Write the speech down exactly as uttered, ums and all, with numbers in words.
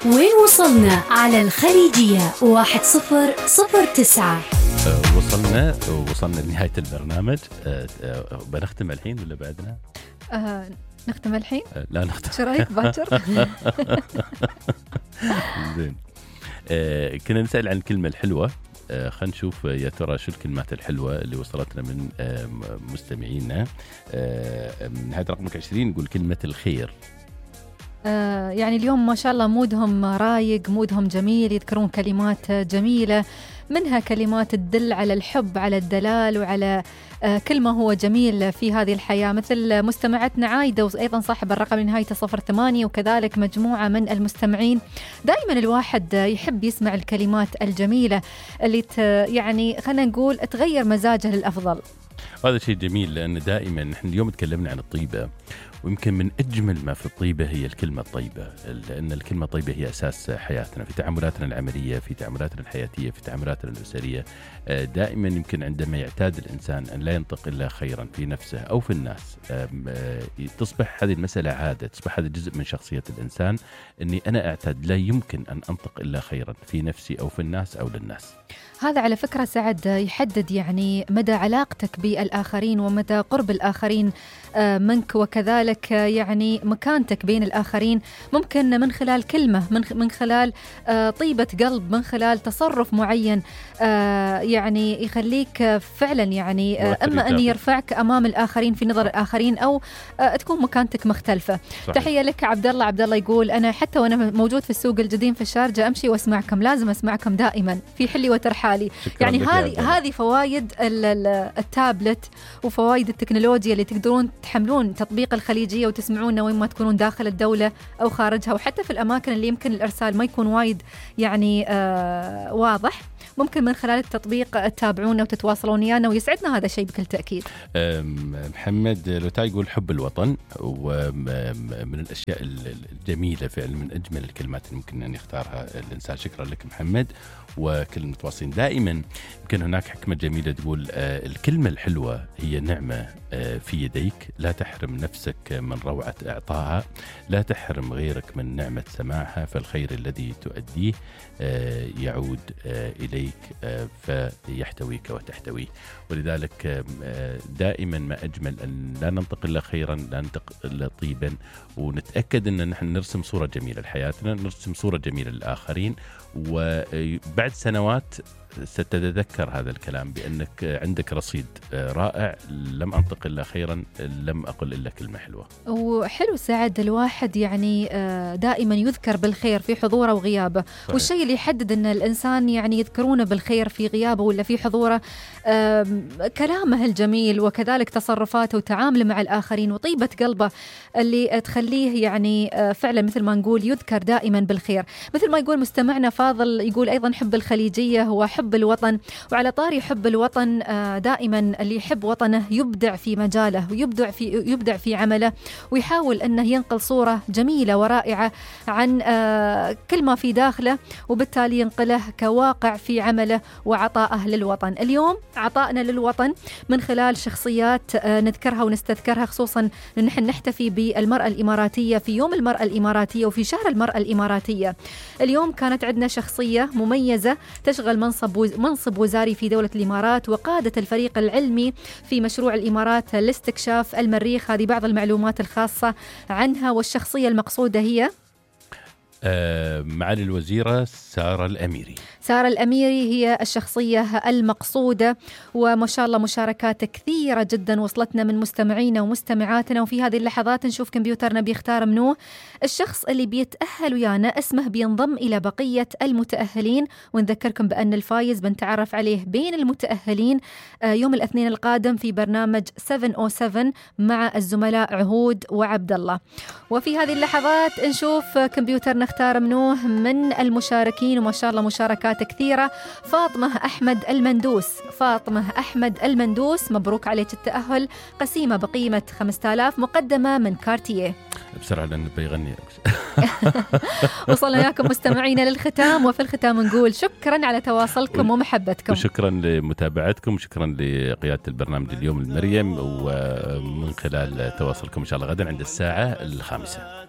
وين وصلنا على الخليجية واحد صفر صفر تسعة. أه وصلنا وصلنا لنهاية البرنامج. أه أه بنختم الحين ولا بعدنا؟ أه نختم الحين؟ أه لا نختم. شو رأيك باكر؟ زين. أه كنا نسأل عن الكلمة الحلوة. أه خلينا نشوف يا ترى شو الكلمات الحلوة اللي وصلتنا من أه مستمعينا. أه من هذا رقمك عشرين يقول كلمة الخير. آه يعني اليوم ما شاء الله مودهم رايق، مودهم جميل، يذكرون كلمات جميلة، منها كلمات تدل على الحب، على الدلال، وعلى آه كل ما هو جميل في هذه الحياة، مثل مستمعتنا عايدة وأيضا صاحب الرقم نهايته صفر ثمانية، وكذلك مجموعة من المستمعين. دائما الواحد يحب يسمع الكلمات الجميلة اللي يعني خلينا نقول تغير مزاجه للأفضل. هذا شيء جميل، لأن دائما نحن اليوم تكلمنا عن الطيبة، ويمكن من أجمل ما في الطيبة هي الكلمة الطيبة، لأن الكلمة الطيبة هي أساس حياتنا في تعاملاتنا العملية، في تعاملاتنا الحياتية، في تعاملاتنا الأسرية. دائما يمكن عندما يعتاد الإنسان أن لا ينطق إلا خيرا في نفسه أو في الناس، تصبح هذه المسألة عادة، تصبح هذا جزء من شخصية الإنسان، أني أنا أعتاد لا يمكن أن أنطق إلا خيرا في نفسي أو في الناس أو للناس. هذا على فكرة سعد يحدد يعني مدى علاقتك بالآخرين ومدى قرب الآخرين منك، وكذلك يعني مكانتك بين الآخرين، ممكن من خلال كلمة، من من خلال طيبة قلب، من خلال تصرف معين يعني يخليك فعلا يعني أما أن يرفعك أمام الآخرين في نظر الآخرين، أو تكون مكانتك مختلفة. صحيح. تحية لك عبد الله. عبد الله يقول أنا حتى وأنا موجود في السوق الجديد في الشارجة أمشي وأسمعكم، لازم أسمعكم دائما في حلي وترحالي. يعني هذه هذه فوائد التابلت وفوائد التكنولوجيا اللي تقدرون تحملون تطبيق الخليجية وتسمعونا وين ما تكونون داخل الدولة أو خارجها، وحتى في الأماكن اللي يمكن الإرسال ما يكون وايد يعني آه واضح، ممكن من خلال التطبيق تتابعونا وتتواصلون ويانا، ويسعدنا هذا الشيء بكل تأكيد. محمد لوتاي يقول حب الوطن، ومن الأشياء الجميلة فعلا، من أجمل الكلمات اللي ممكن أن يختارها الإنسان. شكرا لك محمد وكل المتواصلين. دائما يمكن هناك حكمة جميلة تقول آه الكلمة الحلوة هي نعمة آه في يديك، لا تحرم نفسك من روعة إعطائها، لا تحرم غيرك من نعمة سماعها، فالخير الذي تؤديه آه يعود آه إليك آه فيحتويك وتحتويه. ولذلك آه دائما ما أجمل أن لا ننطق إلا خيرا، لا ننطق إلا طيبا، ونتأكد أن نحن نرسم صورة جميلة لحياتنا، نرسم صورة جميلة للآخرين. وبعد سنوات ستتذكر هذا الكلام بأنك عندك رصيد رائع، لم أنطق إلا خيرا، لم أقل إلا كلمة حلوة. وحلو سعد الواحد يعني دائما يذكر بالخير في حضوره وغيابه. صحيح. والشيء اللي يحدد أن الإنسان يعني يذكرونه بالخير في غيابه ولا في حضوره كلامه الجميل، وكذلك تصرفاته وتعامله مع الآخرين وطيبة قلبه اللي تخليه يعني فعلا مثل ما نقول يذكر دائما بالخير. مثل ما يقول مستمعنا فاضل، يقول أيضا حب الخليجية هو حب الوطن. وعلى طاري حب الوطن، دائما اللي يحب وطنه يبدع في مجاله ويبدع في يبدع في عمله، ويحاول أنه ينقل صورة جميلة ورائعة عن كل ما في داخله، وبالتالي ينقله كواقع في عمله وعطائه للوطن. اليوم عطائنا للوطن من خلال شخصيات نذكرها ونستذكرها، خصوصا أن نحن نحتفي بالمرأة الإماراتية في يوم المرأة الإماراتية وفي شهر المرأة الإماراتية. اليوم كانت عندنا شخصية مميزة تشغل منصب منصب وزاري في دولة الإمارات، وقادة الفريق العلمي في مشروع الإمارات لاستكشاف المريخ. هذه بعض المعلومات الخاصة عنها. والشخصية المقصودة هي آه معالي الوزيرة سارة الأميري. سارة الأميري هي الشخصية المقصودة، وما شاء الله مشاركات كثيرة جدا وصلتنا من مستمعينا ومستمعاتنا. وفي هذه اللحظات نشوف كمبيوترنا بيختار منه الشخص اللي بيتأهل ويانا، اسمه بينضم إلى بقية المتأهلين. ونذكركم بأن الفايز بنتعرف عليه بين المتأهلين يوم الاثنين القادم في برنامج سبعة أو سبعة مع الزملاء عهود وعبد الله. وفي هذه اللحظات نشوف كمبيوترنا اختار منه من المشاركين، وما شاء الله مشاركات كثيرة. فاطمة أحمد المندوس، فاطمة أحمد المندوس مبروك عليك التأهل، قسيمة بقيمة خمسة آلاف مقدمة من كارتيه. بسرعة لأنه بيغني. وصلنا وياكم مستمعينا للختام، وفي الختام نقول شكرا على تواصلكم ومحبتكم، وشكرا لمتابعتكم، وشكرا لقيادة البرنامج اليوم المريم، ومن خلال تواصلكم إن شاء الله غدا عند الساعة الخامسة.